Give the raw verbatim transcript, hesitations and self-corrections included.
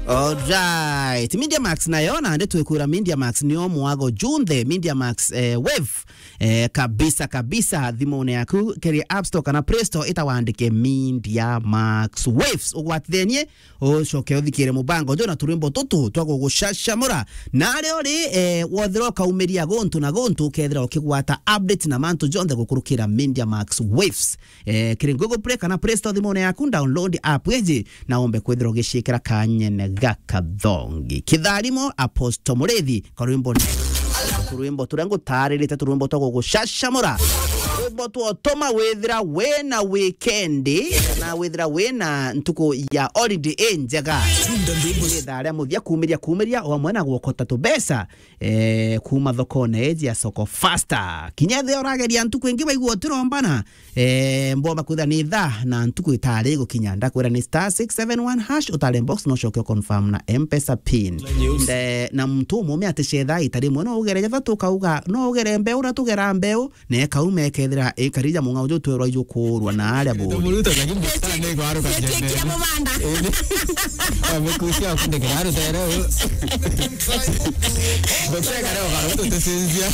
Alright. Media Max nayo, na ndi twikwira Media Max nio mwago junthe. Media Max, eh, Wave, eh, kabisa, kabisa, thimune yaku, kiri App Store kana Play Store, ita wandike Media Max Waves. Ugwatithenie, ucoke uthikire mubango jo na turwimbo tutu twa gugucacamura. Na ari uri, eh, wothira ukaumiria guntu na guntu, ukethira ukigwata update na mantu jonthe gukurukira Media Max Waves. Eh, kiri Google Play kana Play Store thimune yaku, download app iji na umbe kwithira ugiciikira kanyene ga kathongi. Kitharimo, Apostle Murithi, karwimbo, turwimbo turia ngutaririte, turwimbo twa gugucacamura. Rwimbo twotuma withira wina weekend, na withira wina ntuku ya holiday injega. Ithaa ria muthia kumiria, kumiria o amwe na gwokota tubeca, eh, kuma thokone iji ya Soko Faster. Kinya ethia urageria ntuku ingi waigua utirombana, eh, mbomba kwithira ni ithaa na ntuku itari gukinya. Ndakwira ni star six seven one hash, utare box, no ucoke uconfirm na M-Pesa pin. Nde, na muntu umume aticetha ita rimwe, no ugere jathatu ukauga, no ugere mbeu, na tugera mbeu, na ikauma ikethira ikari ja mung'ao ju twerwa ijukurwa na aria buri. Muruto, lakini bustani ni kwaruka. Gitikia mubanda. Amekusia kundikira rutere. Gutega leo garuto tusinzia.